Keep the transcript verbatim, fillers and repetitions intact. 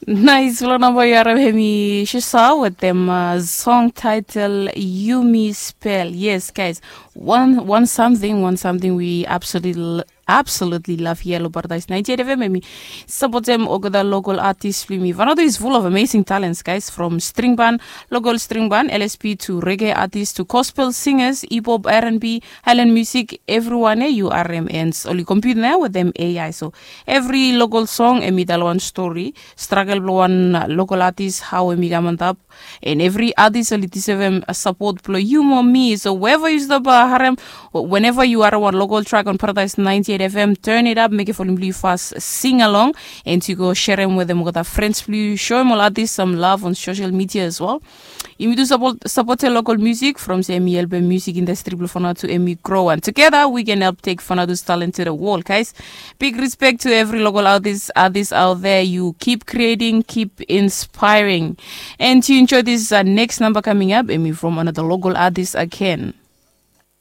Nais, long namba yu harim hemi Shisha wetem song title Yumi Spel. Yes, guys, one one something, one something we absolutely absolutely love here lo Paradise ninety-eight F M. Hemi sapotem olgeta local artist blong yumi. Vanuatu is full of amazing talents, guys, from string band, local string band, L S P, to reggae artist to gospel singers, hip hop, R and B, island music, everyone eh, U R M, and oli compete nao wetem A I. So every local song hemi tell one story, struggle blong one local artist, how hemi kam on top, and every artist oli deserve a support blong yu mo mi. So wherever you stop uh, harem, whenever you are one local track on Paradise ninety-eight F M, turn it up, make it for you fast, sing along, and you go share them with them with our friends blong yu, show them all artists some love on social media as well. Yumi tu support support local music from se hemi help music industry blong Vanuatu hemi grow, and together we can help take Vanuatu's talent to the world, guys. Big respect to every local artist artist out there. You keep creating, keep inspiring. And to enjoy this uh, next number coming up, hemi from another local artist again.